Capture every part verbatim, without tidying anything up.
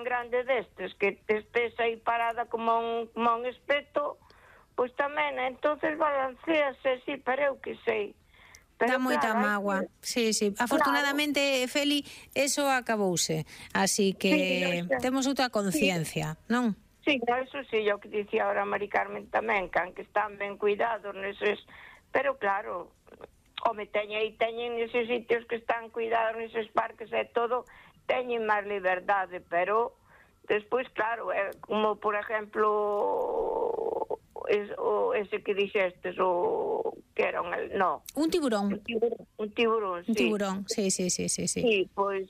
tan grande destes que te estés aí parada como un, como un espeto, pois tamén, entonces balancease, sí, pero eu que sei. Dá moita mágoa. Sí, sí. Afortunadamente, Feli, eso acabouse. Así que temos outra conciencia, non? Sí, eso sí, o que dicía ahora Mari Carmen tamén, can que están ben cuidados neses, pero claro, home, teñen aí, teñen neses sitios que están cuidados, neses parques e todo, teñen máis liberdade, pero despois, claro, é como, por exemplo, es, o, ese que dixestes, o que era un, no. Un tiburón. Un tiburón, un tiburón, sí. Un tiburón, sí, sí, sí, sí, sí. Sí, pois,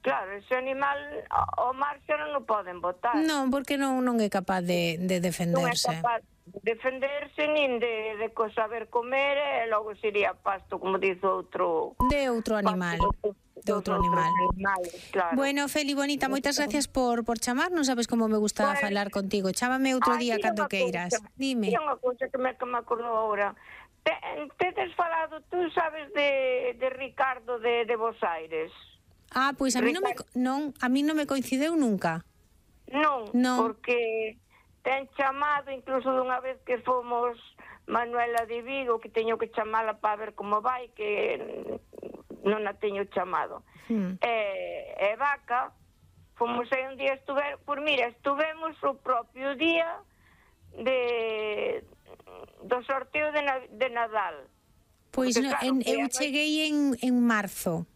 claro, ese animal ao mar xa non o poden botar. Non, porque non non é capaz de, de defenderse. Non é capaz de defenderse nin de, de co saber comer e logo sería pasto, como dice outro... De outro animal. De outro animal. Animales, claro. Bueno, Feli, bonita, moitas gracias por, por chamar. Non sabes como me gusta pues, falar contigo. Chámame outro día cando queiras. Cosa, Dime. Hai unha cousa que me, que me acordou agora. Te, tedes falado, tú sabes de, de Ricardo de, de Bos Aires? Ah, pois pues a mí non me, non, a mí non me coincideu nunca. Non, non, porque ten chamado, incluso dunha vez que fomos Manuela de Vigo, que teño que chamala para ver como vai, que non a teño chamado. Hmm. E, e Vaca, fomos aí un día, estuver, por mira, estuvemos o propio día de do sorteo de, de Nadal. Pois pues no, claro, en, eu cheguei en, en marzo.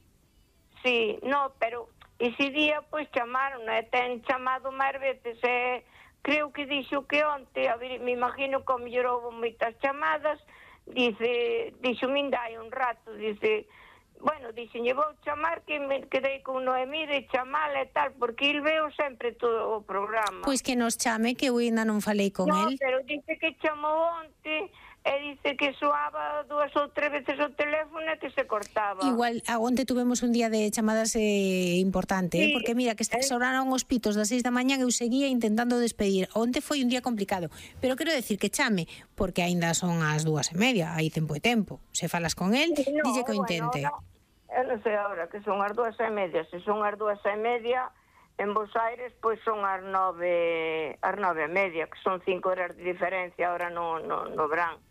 Sí, no, pero ese día, pois, chamaron, e ten chamado máis veces, e creo que dixo que onte, a ver, me imagino que ao mellor houve moitas chamadas, dice, dixo, minda hai un rato, dice, bueno, dixe, lle vou chamar que me quedei con Noemí de chamala e tal, porque il veo sempre todo o programa. Pois que nos chame, que eu ainda non falei con no, el. No, pero dice que chamou onte, e dice que soaba dúas ou tres veces o teléfono e que se cortaba. Igual, onte tuvemos un día de chamadas eh, importante, sí, eh, porque mira, que sonaron os pitos das seis da mañá e eu seguía intentando despedir. Onte foi un día complicado, pero quero decir que chame, porque aínda son as dúas e media, hai tempo e tempo. Se falas con el, sí, no, dille que o intente. Bueno, no, eu non sei agora que son as dúas e media, se son as dúas e media en Bos Aires, pois son as nove, as nove e media, que son cinco horas de diferencia ahora no, no, no verán.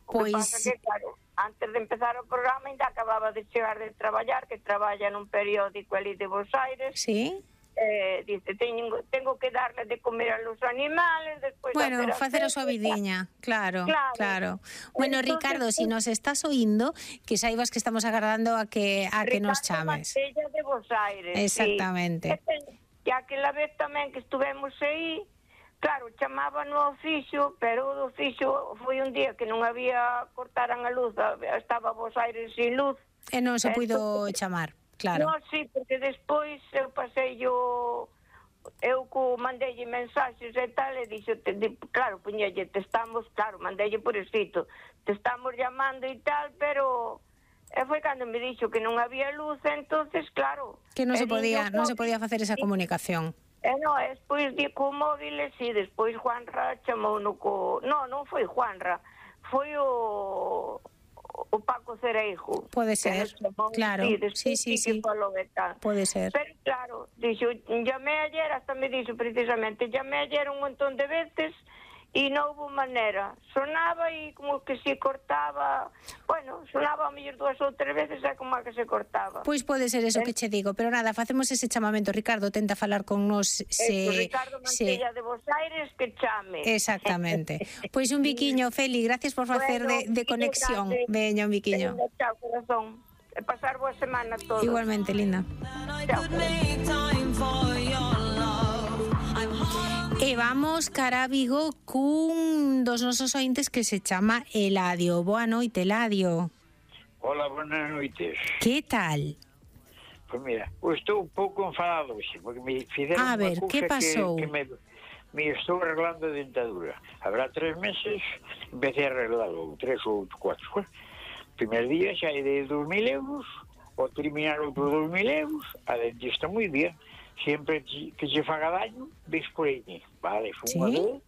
O pois... que pasa que, claro, antes de empezar o programa ainda acababa de chegar de traballar, que traballa nun periódico ali de Bos Aires. Sí. Eh, dice, teño, tengo que darle de comer a los animales, despois... Bueno, facer a súa vidiña, claro, claro, claro. Bueno, entonces, Ricardo, si nos estás oindo, que saibas que estamos agardando a que a que nos chames. Ricardo Mantella de Bos Aires. Exactamente. Sí. E aquela vez tamén que estuvemos aí, claro, chamaba no oficio, pero o oficio foi un día que non había, cortaran a luz, estaba Bos Aires sin luz. E non se puido chamar, claro. Non, sí, porque despois eu pasei yo, eu co mandelle mensaxes e tal, e dixo, te, claro, puñelle, te estamos, claro, mandelle por escrito, te estamos llamando e tal, pero... E foi cando me dixo que non había luz, entonces, claro... Que non se podía, non se podía facer esa comunicación. E non, despois di co móvil, e si, despois Juanra chamou no co... Non, non foi Juanra, foi o... o Paco Cereijo. Pode ser, claro, sí, sí, sí, pode ser. Pero claro, dixo, llamé ayer, hasta me dixo precisamente, llamé ayer un montón de veces e non houve maneira. Sonaba e como que se cortaba, bueno, sonaba a mellor dúas ou tres veces e como que se cortaba. Pois pode ser eso eh? que che digo, pero nada, facemos ese chamamento. Ricardo, tenta falar con nos se... Eso, Ricardo Mantella se... de Bos Aires, que chame. Exactamente. Pois un biquiño, Feli, gracias por facer bueno, de, de conexión. Veña, un biquiño. Veña, chao, corazón. E pasar boa semana a todos. Igualmente, linda. Chao. E vamos cara a Vigo cun dos nosos ointes que se chama Eladio. Boa noite, Eladio. Hola, buenas noites. Que tal? Pois pues mira, eu estou un pouco enfadado hoxe, porque me fizeron a ver, unha cousa que pasou? que, que me, me estou arreglando a dentadura. Habrá tres meses, empecé a arreglalo, tres ou cuatro. O primer día xa é de dos mil euros, o terminar outros dos mil euros, a dentista moi bien. Sempre que se faga daño, ves por aí. Vale, foi unha vez,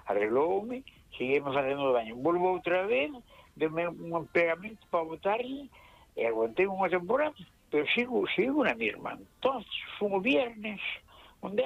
arregloume, seguimos facendo daño. Volvo outra vez, deme un pegamento para botarlle, e aguantei unha temporada, pero sigo, sigo na mesma. Entón, foi o viernes,